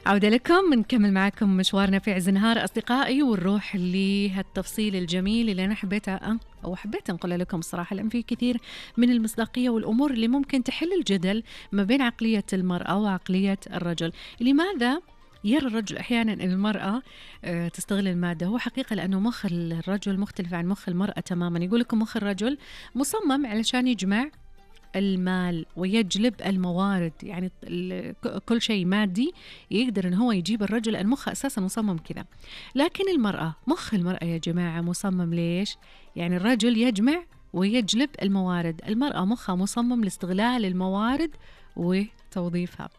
عودة لكم، بنكمل معاكم مشوارنا في عز نهار أصدقائي، ونروح لهالتفصيل الجميل اللي أنا حبيت أنقله لكم الصراحة، لأن في كثير من المصداقية والأمور اللي ممكن تحل الجدل ما بين عقلية المرأة وعقلية الرجل. لماذا يرى الرجل أحيانا أن المرأة تستغل المادة؟ هو حقيقة لأنه مخ الرجل مختلف عن مخ المرأة تماما. يقول لكم مخ الرجل مصمم علشان يجمع المال ويجلب الموارد، يعني كل شيء مادي يقدر ان هو يجيب الرجل، لأن مخه اساسا مصمم كذا. لكن المرأة، مخ المرأة يا جماعة مصمم ليش؟ يعني الرجل يجمع ويجلب الموارد، المرأة مخها مصمم لاستغلال الموارد وتوظيفها.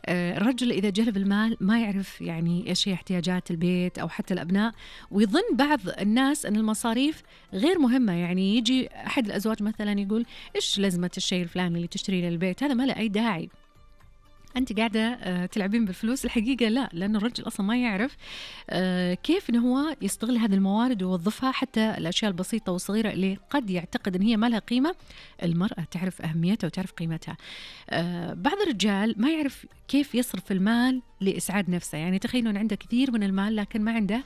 الرجل إذا جلب المال ما يعرف يعني إيش هي احتياجات البيت أو حتى الأبناء، ويظن بعض الناس أن المصاريف غير مهمة. يعني يجي أحد الأزواج مثلا يقول إيش لازمة الشيء الفلاني اللي تشتريه للبيت، هذا ما له أي داعي، أنت قاعدة تلعبين بالفلوس. الحقيقة لا، لأن الرجل أصلا ما يعرف كيف إنه هو يستغل هذه الموارد ويوظفها، حتى الأشياء البسيطة والصغيرة اللي قد يعتقد إن هي ما لها قيمة، المرأة تعرف أهميتها وتعرف قيمتها. بعض الرجال ما يعرف كيف يصرف المال لإسعاد نفسه. يعني تخيلوا أن عنده كثير من المال لكن ما عنده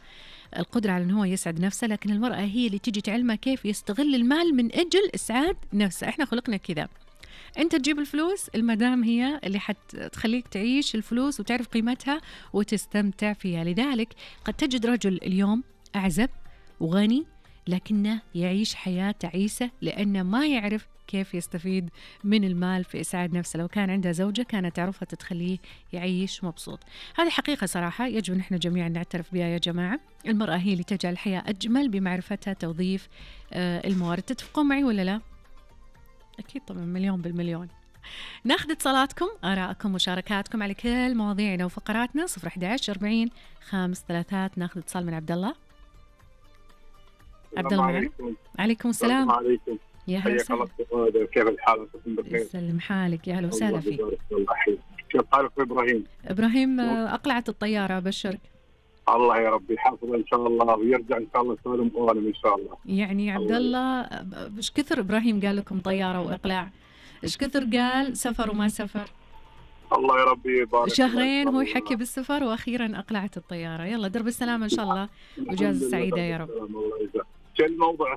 القدرة على أنه هو يسعد نفسه، لكن المرأة هي اللي تيجي تعلمه كيف يستغل المال من أجل إسعاد نفسه. إحنا خلقنا كذا، أنت تجيب الفلوس، المدام هي اللي حتخليك تعيش الفلوس وتعرف قيمتها وتستمتع فيها. لذلك قد تجد رجل اليوم أعزب وغني لكنه يعيش حياة تعيسة، لأنه ما يعرف كيف يستفيد من المال في إسعاد نفسه. لو كان عنده زوجة كانت تعرفها تتخليه يعيش مبسوط. هذه حقيقة صراحة يجب أن احنا جميعا نعترف بها يا جماعة. المرأة هي اللي تجعل الحياة أجمل بمعرفتها توظيف الموارد. تتفقون معي ولا لا؟ أكيد طبعا، مليون بالمليون. ناخذ اتصالاتكم، آراءكم، مشاركاتكم على كل مواضيعنا وفقراتنا. 011 40 533. ناخذ اتصال من عبد الله. عبد الله معنا. عليكم السلام. عليكم. يا هلا وسهلا. كيف الحال؟ يسلم حالك، يا هلا وسهلا فيك. كيف حالك ابراهيم؟ ابراهيم اقلعت الطياره، ابشرك. الله يا رب يحافظ ان شاء الله ويرجع ان شاء الله سالم وغانم ان شاء الله. يعني عبد الله ايش كثر ابراهيم قال لكم طياره واقلاع، ايش كثر قال سفر وما سفر. الله يا رب يبارك. شهرين هو يحكي بالسفر واخيرا اقلعت الطياره. يلا درب السلامه ان شاء الله وجازة سعيده يا رب. الله يجزاك. شو الموضوع